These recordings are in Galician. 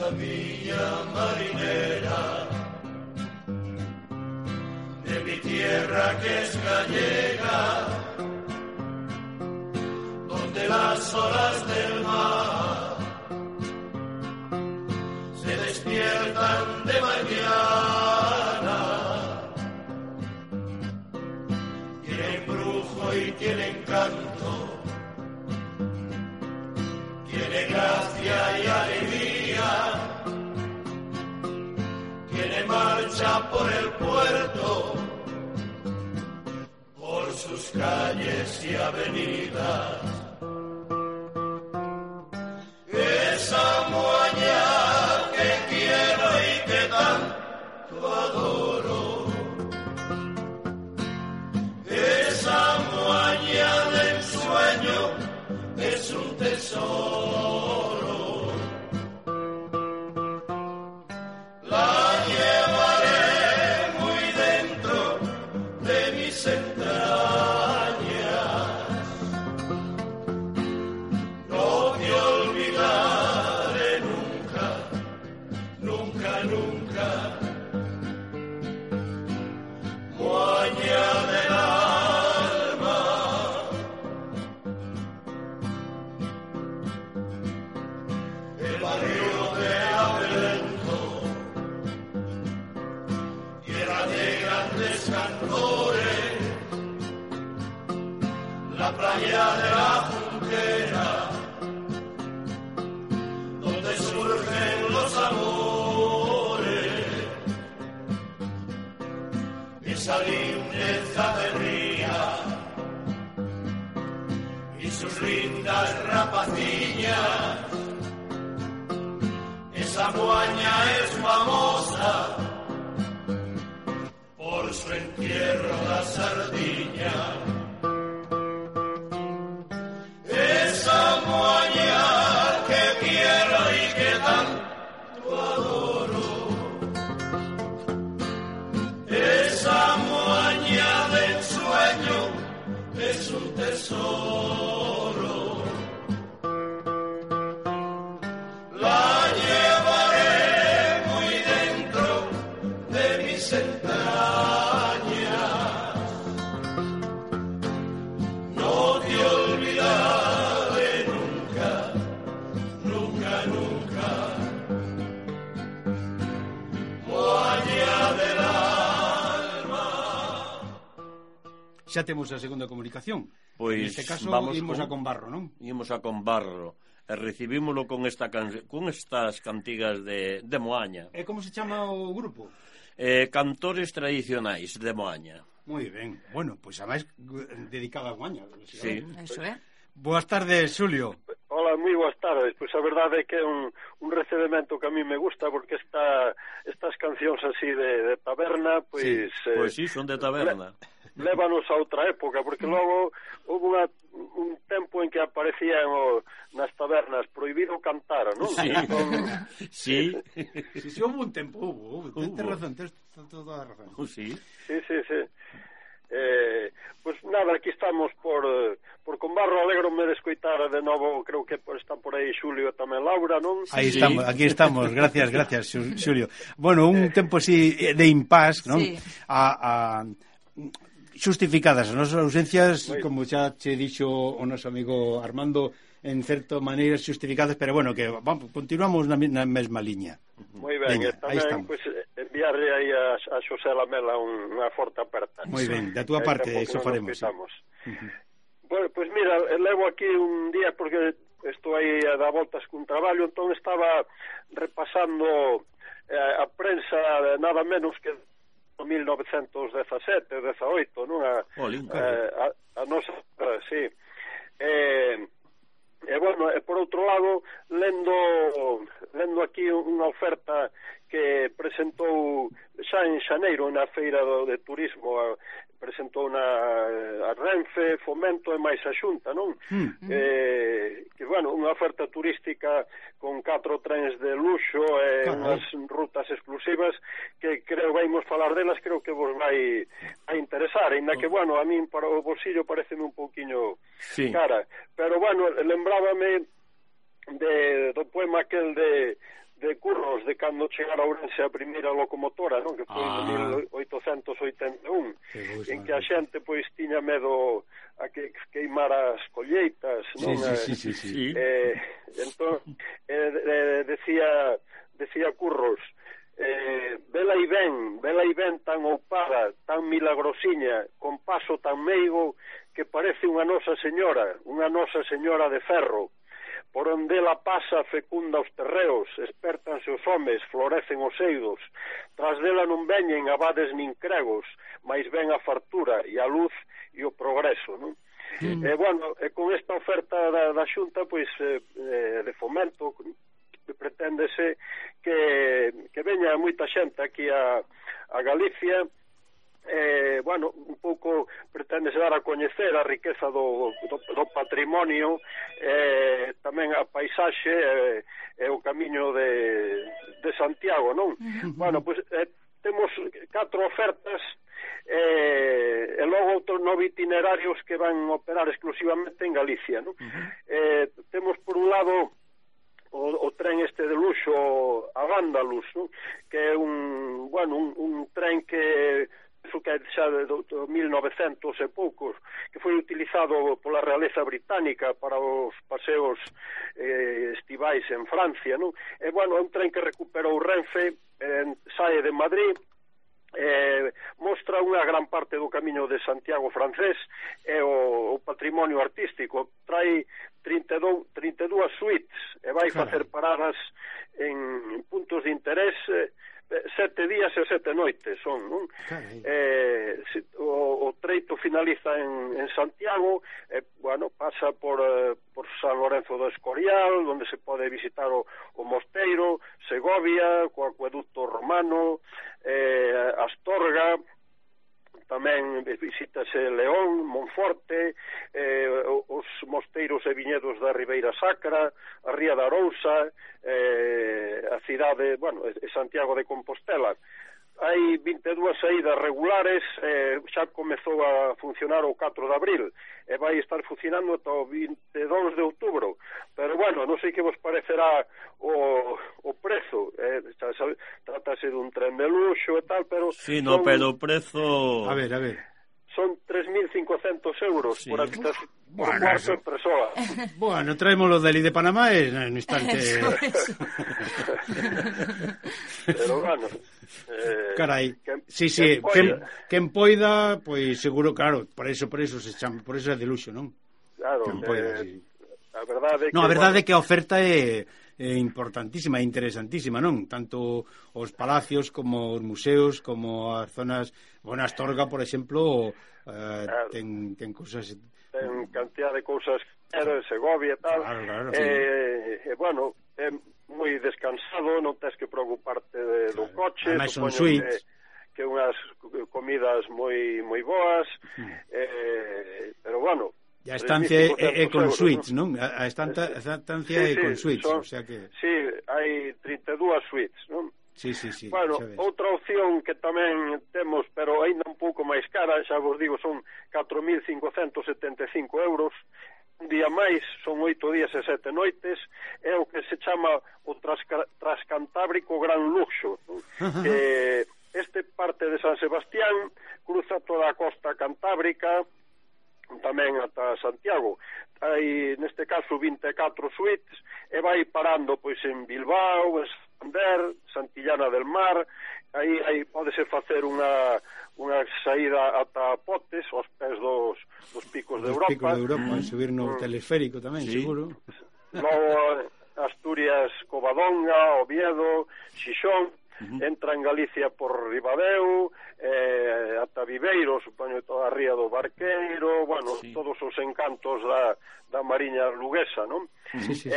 esta villa marinera de mi tierra que es gallega, donde las olas del mar se despiertan de mañana, tiene embrujo y tiene encanto, tiene gracia y alegría, tiene marcha por el puerto, por sus calles y avenidas. Esa moaña que quiero y que tanto adoro, esa moaña de ensueño es un tesoro. La llevaré muy dentro de mis entrañas. No te olvidaré nunca, nunca, nunca. Moaña del alma. El barrio de Abelento, tierra de grandes cantores, la playa de la Junquera, donde surgen los amores, esa lindeza de ría y sus lindas rapacillas. Esa moaña es famosa por su entierro la sardina. Esa moaña que quiero y que tanto adoro, esa moaña de ensueño es un tesoro. La llevaré muy dentro de mis entrañas. No te olvidaré nunca, nunca, nunca. Moaña del alma. Xa temos a segunda comunicación. Pois neste caso vamos imos a Conbarro, non? Imos a Conbarro e recibímolo con estas cantigas de Moaña. E como se chama o grupo? Cantores tradicionais de Moaña. Moi ben. Bueno, pois a máis dedicada a Moaña. Sí. Eso é. Boas tardes, Xulio. Hola, moi boas tardes. Pois a verdade é que é un recebemento que a mí me gusta, porque estas cancións así de taberna, pois... Sí, pois sí, son de taberna. Lévanos a outra época, porque logo houve un tempo en que aparecían nas tabernas prohibido cantar, non? Sí, sí. Si houve un tempo, houve. Tens razón, tens toda a razón. Sí. Sí. Pois nada, aquí estamos por Conbarro. Alégrome de escoitar de novo, creo que está por aí Xulio e tamén Laura, non? Aí estamos, aquí estamos, gracias, Xulio. Bueno, un tempo así de impas, non? Sí. Justificadas as nosas ausencias, como xa che dixo o noso amigo Armando, en certa maneira justificadas, pero bueno, que vamos, continuamos na mesma liña. Moi ben, Veña, e tamén pues, enviarle aí a Xosé Lamela unha forte aperta. Moi ben, da túa parte, iso faremos. Bueno, pois mira, levo aquí un día porque estou aí a dar voltas cun traballo, entón estaba repasando a prensa nada menos que 1917, 18, non? A nosa, sí. E bueno, por outro lado, lendo aquí unha oferta que presentou xa en xaneiro na feira de turismo, presentou a Renfe, Fomento e máis a Xunta, non? Que, bueno, unha oferta turística con 4 trens de luxo e unhas rutas exclusivas que creo vamos falar delas, creo que vos vai a interesar, ainda que, bueno, a min para o bolsillo pareceme un pouquiño cara, pero, bueno, lembrábame do poema aquel de de curros de cando chegara a Ourense a primeira locomotora, non? Que foi en 1881, en que a xente pois tiña medo a que queimara as colleitas, non? Sí. Entón decía Curros, vela e ven tan oupada, tan milagrosiña, con paso tan meigo que parece unha Nosa Señora de ferro. Por onde ela pasa fecunda os terreos, espertanse os homes, florecen os eidos, tras dela non veñen abades nin cregos, mais ven a fartura e a luz e o progreso, non? Con esta oferta da Xunta, pois, de fomento, preténdese que veña moita xente aquí a Galicia. Un pouco preténdese dar a coñecer a riqueza do patrimonio, tamén a paisaxe e o camiño de Santiago, non? Pois temos 4 ofertas e logo outros 9 itinerarios que van operar exclusivamente en Galicia, non? Temos por un lado o tren este de luxo a Vándalus, non? Que é un tren que é xa de 1900 e poucos, que foi utilizado pola realeza británica para os paseos estivais en Francia, non? É un tren que recuperou Renfe, sae de Madrid, mostra unha gran parte do camiño de Santiago francés e o patrimonio artístico. Trae 32 suites e vai facer paradas en puntos de interés 7 días e 7 noites son, non? O treito finaliza en Santiago, pasa por San Lorenzo do Escorial, onde se pode visitar o mosteiro, Segovia, co acueducto romano, Astorga, tamén visítase León, Monforte, os mosteiros e viñedos da Ribeira Sacra, a Ría da Arousa, a cidade, Santiago de Compostela. Hai 22 saídas regulares, xa comezou a funcionar o 4 de abril e vai estar funcionando ata o 22 de outubro, pero non sei que vos parecerá o prezo, trátase dun tren de luxo e tal, pero pero o prezo... A ver son 3.500 euros por habitación, por cuarto e persoa. Traémoslo de Panamá e no instante... Pero carai, quen poida, pois seguro, claro, por eso se chama, por eso é de luxo, non? Claro, a verdade a verdade é que a oferta é importantísima e interesantísima, non? Tanto os palacios como os museos, como as zonas, Astorga, por exemplo, ten cousas... Ten cantidad de cousas, Segovia e tal, é moi descansado, non tens que preocuparte do coche, ademais son suites, que unhas comidas moi boas, pero e a estancia é con suites, non? A estancia é con suites, o sea que... Sí, hai 32 suites, non? Sí. Outra opción que tamén temos, pero ainda un pouco máis cara, xa vos digo, son 4.575 euros, un día máis, son 8 días e 7 noites, é o que se chama o Transcantábrico Gran Luxo, que este parte de San Sebastián, cruza toda a costa cantábrica, tamén ata Santiago. Hai, neste caso, 24 suites, e vai parando pois en Bilbao, en Santander, Santillana del Mar. Aí pódese facer unha saída ata Potes, aos pés dos picos de Europa. Picos de Europa, subir no teleférico tamén, seguro. Logo Asturias, Covadonga, Oviedo, Xixón, entra en Galicia por Ribadeo, ata Viveiro, supoño, toda a ría do Barqueiro, todos os encantos da Mariña luguesa, non? Sí.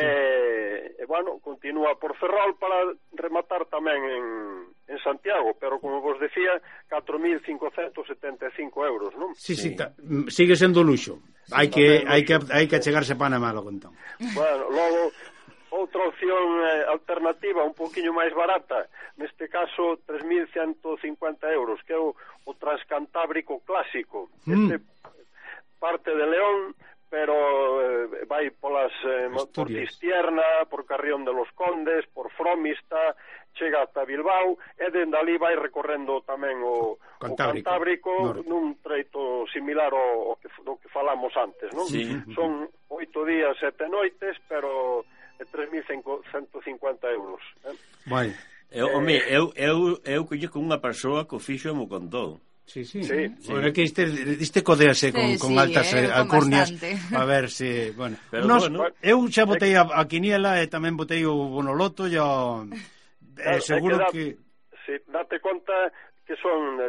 Continúa por Ferrol para rematar tamén en Santiago, pero como vos decía, 4.575 euros, non? Sí, sigue sendo luxo. Hai que achegarse a Panamá, logo entón. Logo outra opción alternativa un poquinho máis barata, neste caso 3.150 euros, que é o Transcantábrico clásico. Este parte de León, pero vai polas Asturias, por Cistierna, por Carrión de los Condes, por Fromista, chega ata Bilbao, e dende ali vai recorrendo tamén o Cantábrico nun treito similar ao que falamos antes, non? Sí. Son 8 días, 7 noites, pero 3.150 euros. Vai. Eu coñeco unha persoa que o fixo e mo contou. Sí. Bueno, que este codease con altas alcurnias a ver se, bueno. Eu xa botei a quiniela e tamén botei o bonoloto e seguro que si date conta que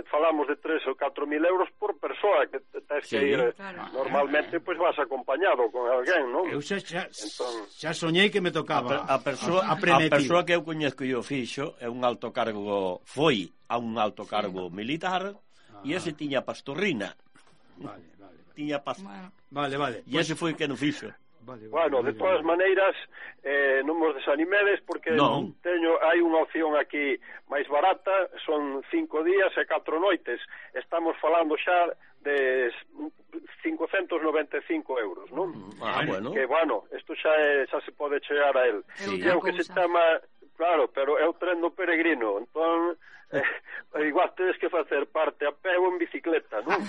falamos de 3 ou 4.000 euros por persoa, que tens que ir normalmente, pois vas acompañado con alguén, non? Eu xa soñei que me tocaba a persoa que eu coñezco e o fixo é un alto cargo, foi a un alto cargo militar. E ese tiña pastorrina. Tiña Vale. E ese foi que non fixo. Bueno, de todas maneiras, non vos desanimedes, porque hai unha opción aquí máis barata, son 5 días e 4 noites. Estamos falando xa de 595 euros, non? Bueno. Que, isto xa se pode chegar a él. É o que se chama, claro, pero é o tren do peregrino, entón... igual tedes que facer parte a pé ou en bicicleta, non?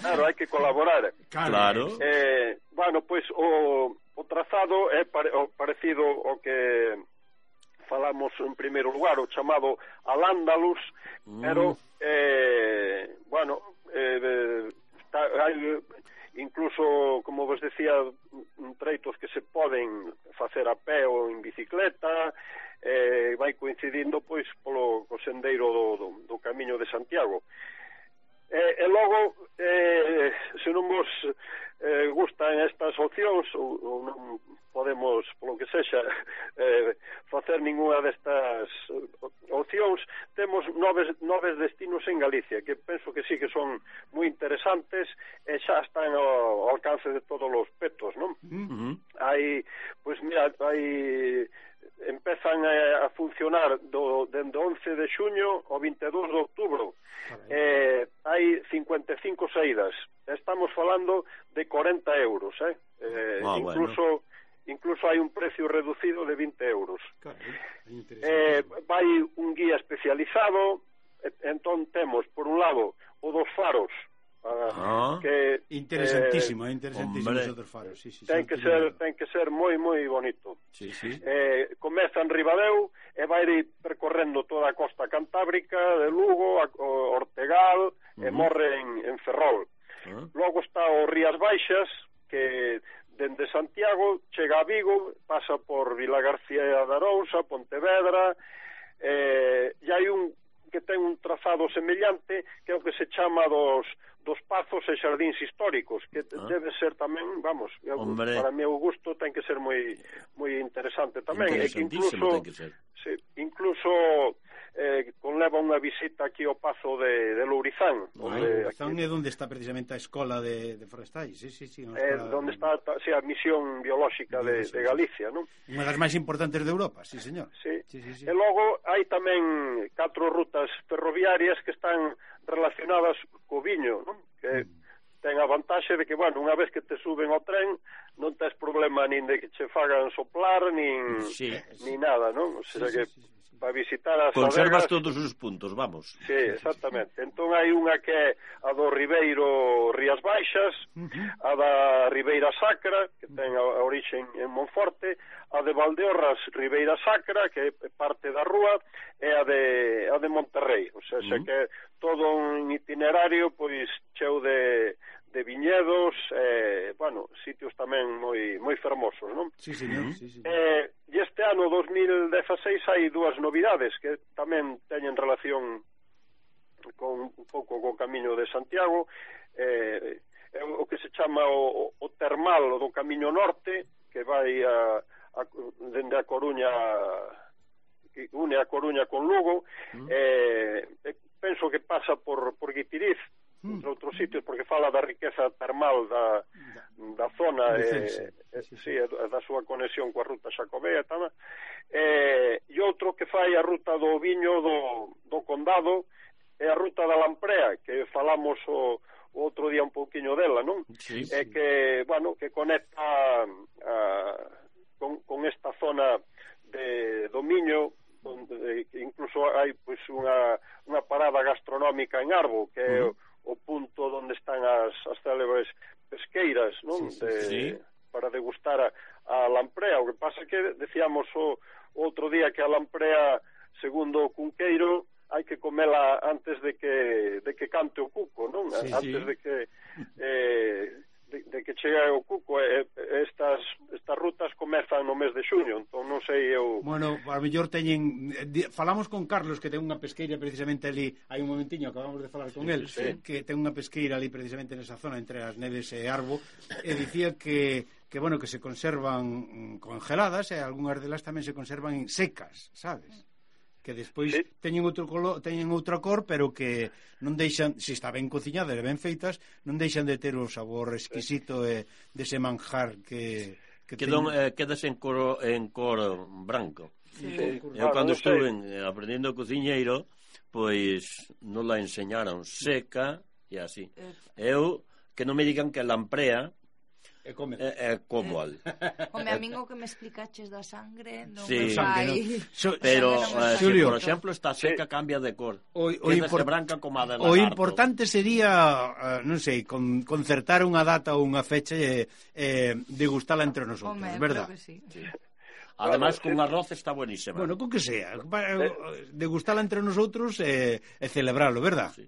Claro, hai que colaborar. Claro. Pois o trazado é parecido ao que falamos en primeiro lugar, o chamado Al-Ándalus, pero hai incluso, como vos decía, treitos que se poden facer a pé ou en bicicleta, vai coincidindo pois polo sendeiro do Camiño de Santiago. E logo, se non vos gustan estas opcións ou non podemos, polo que sexa, facer ninguna destas opcións, temos noves destinos en Galicia, que penso que sí que son moi interesantes e xa están ao alcance de todos os petos, non? Empezan a funcionar dende 11 de xuño ao 22 de outubro. Hai 55 saídas. Estamos falando de 40 euros, incluso hai un precio reducido de 20 euros. Vai un guía especializado, entón temos, por un lado, o dos faros, que interesantísimo esos dos faros. Ten que ser moi bonito. Comeza en Ribadeo e vai percorrendo toda a costa cantábrica de Lugo, Ortegal, e morre en Ferrol. Logo está o Rías Baixas, que dende Santiago chega a Vigo, pasa por Vilagarcía de Arousa, Pontevedra, e hai un que ten un trazado semellante, que é o que se chama dos pazos e xardíns históricos, que debe ser tamén, para mí o gusto ten que ser moi interesante tamén, e que incluso conleva unha visita aquí ao Pazo de Lourizán. Lourizán é onde está precisamente a escola de forestais, onde está a misión biolóxica de Galicia, non? Unha das máis importantes de Europa, sí, señor. E logo hai tamén 4 rutas ferroviarias que están relacionadas co viño, non? Que ten a vantaxe de que, unha vez que te suben ao tren non tes problema nin de que che fagan soplar nin nada, non? O sea que para visitar as conservas adegas, todos os puntos, vamos. Sí, exactamente. Entón hai unha que é a do Ribeiro Rías Baixas, a da Ribeira Sacra, que ten a orixe en Monforte, a de Valdeorras Ribeira Sacra, que é parte da rúa, e a de Monterrey. O sea, que todo un itinerario pois cheo de viñedos, sitios tamén moi fermosos, non? Sí, señor. E este ano 2016 hai 2 novidades que tamén teñen relación con un pouco co Camiño de Santiago, o que se chama o termal do Camiño Norte, que vai dende a Coruña, que une a Coruña con Lugo, penso que pasa por Guipiriz, entre outros sitios, porque fala da riqueza termal da zona, da súa conexión coa ruta xacobea tamén, e outro que fai a ruta do viño do Condado é a ruta da Lamprea, que falamos o outro día un pouquiño dela, non? Sí, sí. Que, bueno, que conecta con esta zona do Miño, donde incluso hai pois unha parada gastronómica en Arbo, que é o punto onde están as célebres pesqueiras, non? Sí. Para degustar a lamprea. O que pasa que decíamos o outro día que a lamprea, segundo o Cunqueiro, hai que comela antes de que cante o cuco, non? Sí, antes de que chegue o cuco. Estas rutas comezan no mes de xuño, entón non sei eu... Bueno, a mellor teñen... Falamos con Carlos, que ten unha pesqueira precisamente ali, hai un momentiño, acabamos de falar con él, que ten unha pesqueira ali precisamente nesa zona entre as Neves e Arbo, e dicía que bueno, que se conservan congeladas e algunhas delas tamén se conservan secas, sabes? Que despois teñen outra cor, pero que non deixan, se está ben cociñadas e ben feitas, non deixan de ter o sabor exquisito dese manjar que quedas en cor branco. Eu cando estuve aprendendo cociñeiro, pois non la enseñaron seca e así. Eu, que non me digan que a lamprea é como al. Home, a min o que me explicaches da sangre non sí, me vai... Pero, Xulio, por exemplo, está seca, cambia de cor. Quédase branca como a de lagarto. O importante sería, non sei, concertar unha data ou unha fecha e degustala entre nosotros, verdad? Sí. Además, con arroz está buenísima. Bueno, con que sea. Degustala entre nosotros e celebralo, verdad? Sí.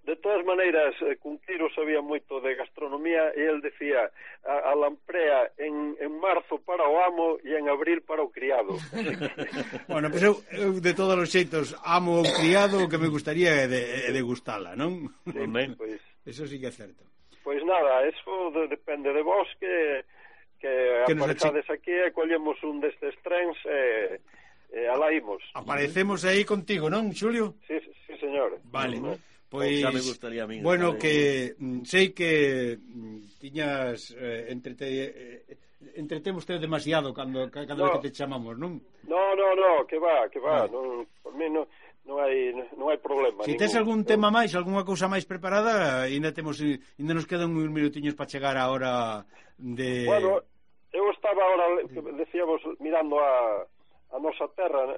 De todas maneiras, Cunqueiro sabía moito de gastronomía e el decía a lamprea en marzo para o amo e en abril para o criado. Bueno, pues eu de todos os xeitos amo o criado, o que me gustaría é degustala, non? Sí, pues, eso sí que é certo. Pois nada, eso depende de vos que aparecades aquí e collemos un destes trens e alá imos. Aparecemos aí contigo, non, Xulio? Sí, señor. Vale. Pois, xa me gustaría a mí. Bueno, que sei que tiñas entretemos demasiado cando que te chamamos, non? No, que va, vale. Non, por mí non hai problema. Se tes algún tema máis, algunha cousa máis preparada, ainda nos quedan uns minutiños para chegar a hora de... Bueno, eu estaba ahora, decíamos, mirando a nosa terra,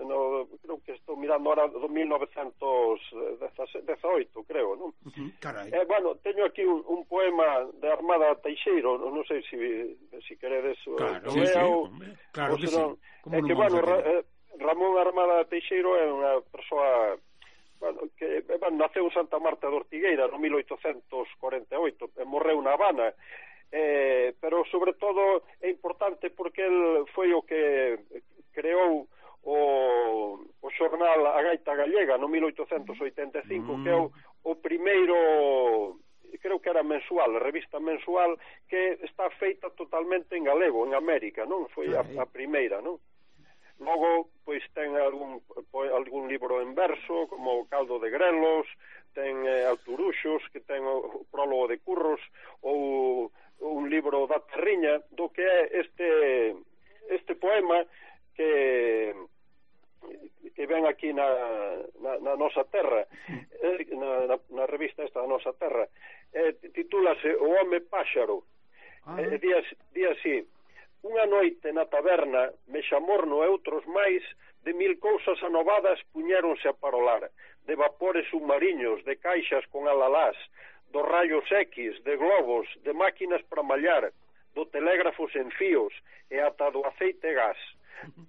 creo que estou mirando ahora do 1918, creo, non? Carai. Bueno, teño aquí un poema de Armada Teixeiro, non sei se queredes... Claro, claro que sí. É que, bueno, Ramón Armada Teixeiro é unha persoa... Bueno, que naceu en Santa Marta de Ortigueira no 1848 e morreu na Habana, pero sobre todo é importante porque el foi o que creou o xornal A Gaita Gallega no 1885, que é o primeiro, creo que era mensual, a revista mensual, que está feita totalmente en galego, en América, non? Foi a primeira, non? Logo, pois ten algún libro en verso, como o Caldo de Grelos, ten Alturuxos, que ten o prólogo de Curros, ou un libro da Terriña, do que é este poema que ven aquí na nosa terra, na revista esta da nosa terra, titúlase O Home Páxaro. Di así: unha noite na taberna, Mexamorno e outros máis, de 1000 cousas anovadas puñéronse a parolar, de vapores submariños, de caixas con alalás, dos rayos X, de globos, de máquinas para mallar, do telégrafo sen fíos e ata do aceite gas.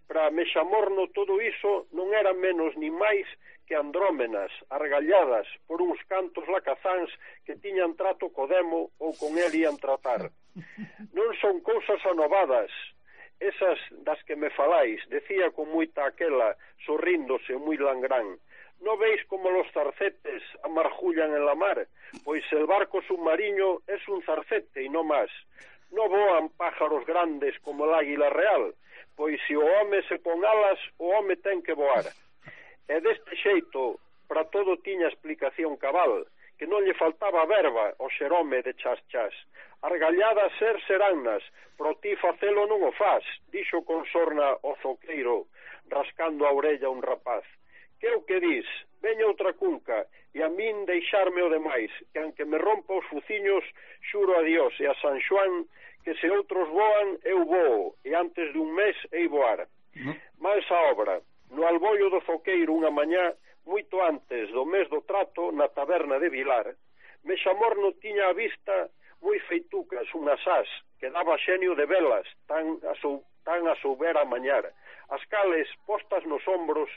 Para Mexamorno todo iso non era menos ni máis que andrómenas, argalladas por uns cantos lacazáns que tiñan trato co demo ou con el ian tratar. Non son cousas anovadas, esas das que me falais, decía con moita aquela, sorríndose moi langrán. Non veis como los zarcetes amargullan en la mar? Pois el barco submarino es un zarcete e non máis. Non voan pájaros grandes como el águila real, pois se o home se pon alas, o home ten que voar. E deste xeito, para todo tiña explicación cabal, que non lle faltaba verba ao xerome de chas. Argalladas serannas, pro ti facelo non o faz, dixo con sorna o zoqueiro, rascando a orella un rapaz. que o que dis? Veña outra cunca, e a min deixarme o demais, que aunque me rompa os fuciños, xuro a Dios e a San Xoán, que se outros voan, eu voo, e antes dun mes hei voar. Máis a obra, no albollo do Foqueiro unha mañá, moito antes do mes do trato, na taberna de Vilar, Mexamorno tiña a vista moi feitucas unhas ás, que daba xenio de velas, tan a souber a mañar, as cales, postas nos ombros,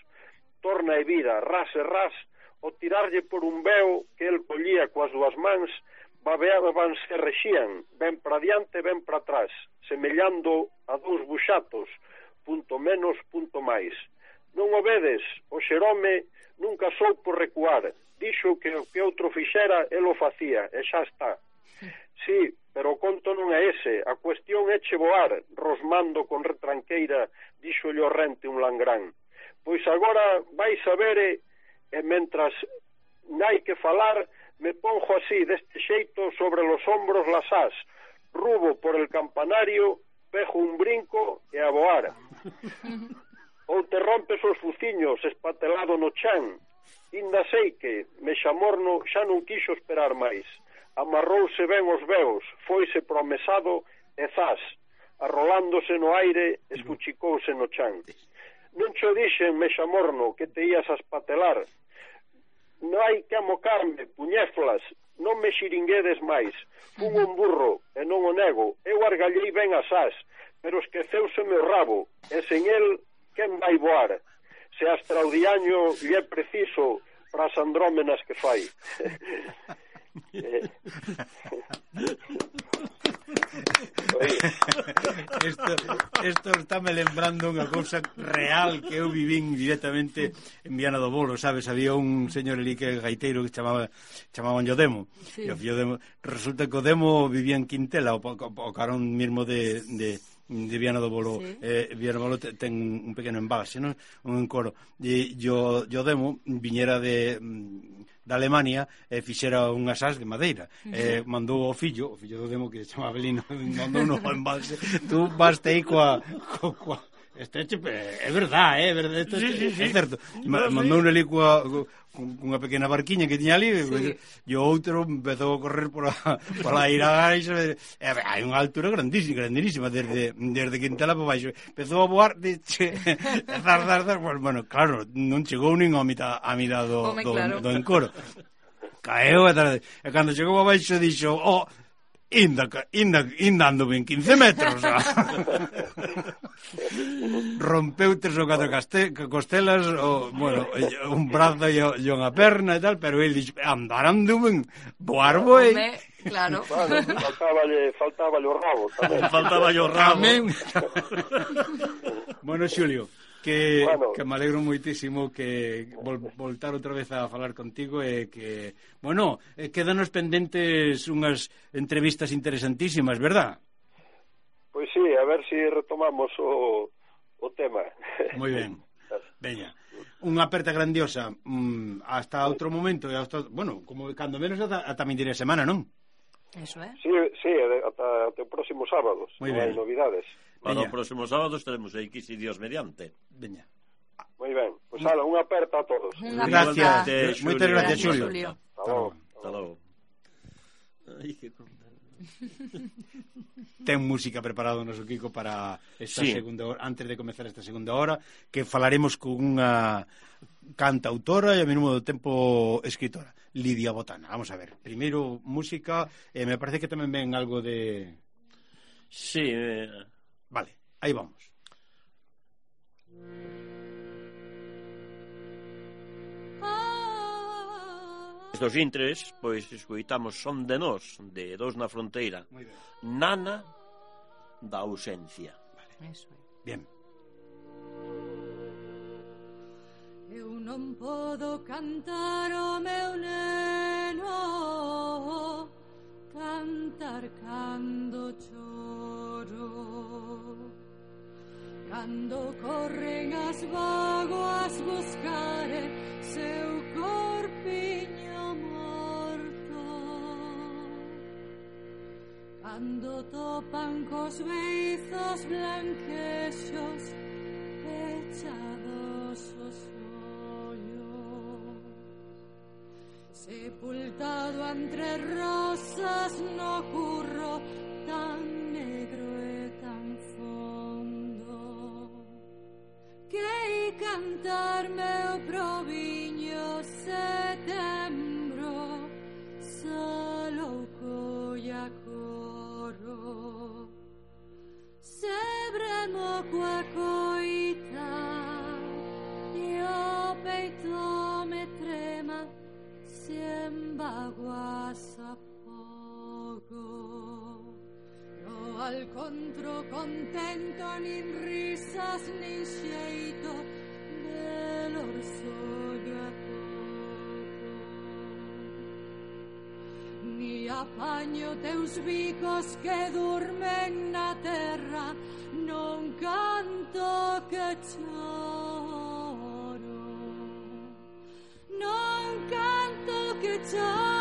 torna e vida, ras e ras, o tirarlle por un veo que el collía coas dúas mans, babeaban se rexían, ben para diante, ben para atrás, semellando a dous buxatos, punto menos, punto máis. Non o vedes, o Xerome nunca soupo recuar, dixo que o que outro fixera, el o facía, e xa está. Sí, pero o conto non é ese, a cuestión é che voar, rosmando con retranqueira, dixo o rente un langrán. Pois agora vais a ver e mentras hai que falar, me ponjo así, deste xeito, sobre los hombros las ás, rubo por el campanario, pejo un brinco e a voar. Ou te rompes os fuciños espatelado no chan, inda sei que Mexamorno xa non quixo esperar máis, amarrouse ben os veos, foise promesado e zas, arrolándose no aire, escuchicouse no chan. Non cho dixen, Mexamorno, que te ías a espatelar. Non hai que amocarme, puñéflas, non me xiringuedes máis. Fun un burro, e non o nego. Eu argallei ben as ás, pero esqueceuse meu rabo, e sen el, quen vai voar? Se hasta o diaño lle é preciso para as andrómenas que fai. Isto estáme lembrando unha cousa real que eu vivín directamente en Viana do Bolo, sabes? Había un señor ali que gaiteiro que chamaban o Demo, sí. E o fillo Demo, resulta que o Demo vivía en Quintela, o carón mismo de Viana do Bolo, sí. Viana do Bolo ten un pequeno embalse, non? Un encoro, e o Demo viñera da Alemania e fixera unhas ás de madeira, mandou o fillo do Demo, que se chamaba Belino, mandou un embalse. Tú vaste aí coa é verdad, é verdade, é certo. Mandou un ali cunha pequena barquiña que tiña ali, e o outro empezou a correr por a Iragais, hai unha altura grandísima, desde Quintela para baixo, empezou a voar, bueno, claro, non chegou nin a mitad do encoro, caeu, e cando chegou a baixo dixo, Inda ando ben 15 metros. Rompeu 3 ou 4 costelas, bueno, un brazo e unha perna e tal, pero ele dixo, ando ben, voar boi. Claro. Faltáballe o rabo tamén. Faltáballe o rabo. Bueno, Xulio, que me alegro moitísimo que voltar outra vez a falar contigo e que, bueno, quedanos pendentes unhas entrevistas interesantísimas, verdad? Pois sí, a ver se retomamos o tema. Moi ben. Veña, unha aperta grandiosa, hasta outro momento, e hasta, bueno, como cando menos ata min diré semana, non? Eso é. Sí, ata o próximo sábado. Moi ben. Hai novidades. Para o próximo sábado estaremos aí, que si Dios mediante. Veña. Moi ben, pois unha aperta a todos. Gracias, moitas gracias, Xulio. Hasta logo. Ai, que contar. Ten música preparada o noso Kiko para esta segunda hora, antes de comezar esta segunda hora, que falaremos con unha cantautora e ao mesmo tempo escritora, Lidia Botana. Vamos a ver, primeiro música, me parece que tamén ven algo de... Sí. Vale, aí vamos. Estos intres, pois, escoitamos Son de Nós, de Dos na Fronteira. Nana da ausencia. Vale. Eso é. Bien. Eu non podo cantar o meu neno, cantar cando choro, cando corren as vagoas buscare seu corpiño morto, cando topan cos beizos blanquexos pechados os ollos. sepultado entre rosas no curro tan negro e tan fondo que cantar meu proviño setembro solo colla coro sebremo coa coita e o peito me trema si embaguasa poco no al contro contento nin risas nin xeito dell'orsoglio a poco ni apaño teus bicos que durmen na terra non canto que choro non canto che c'ho